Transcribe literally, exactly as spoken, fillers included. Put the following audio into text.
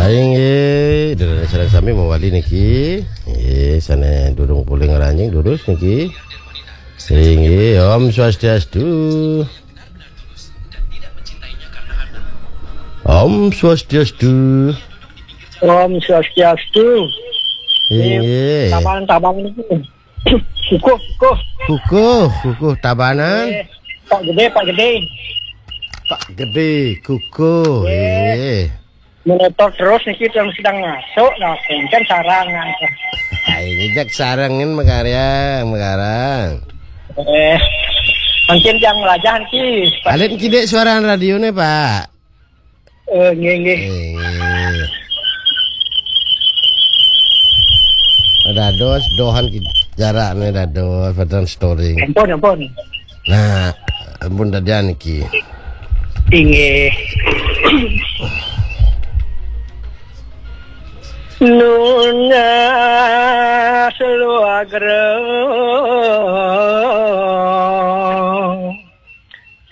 Inggih, durus sareng sami mawali niki. Inggih, sané durung polih ngranjing durus niki. Inggih, Om Swastiastu. Om Swastiastu. Om Swastiastu. Inggih. Tabanan-tabanan niki. Kukuh, kukuh. Kukuh, kukuh Tabanan. Eh, Pak Gede, Pak Gede. Pak Gede, kukuh. Inggih. Monitor terus niki, sedang masuk, nah, kan sarang, nah. Ini jak sarangin makarang, makarang. Eh, mungkin yang melajah niki. Alit kidik suara radionya, Pak. Eh, nggih, nggih. Eh. Dados, dohan ki-, jaraknya dados, badan storing. Ampun, ampun. Nah, ampun dadian iki. Inggih. Nunas luagra.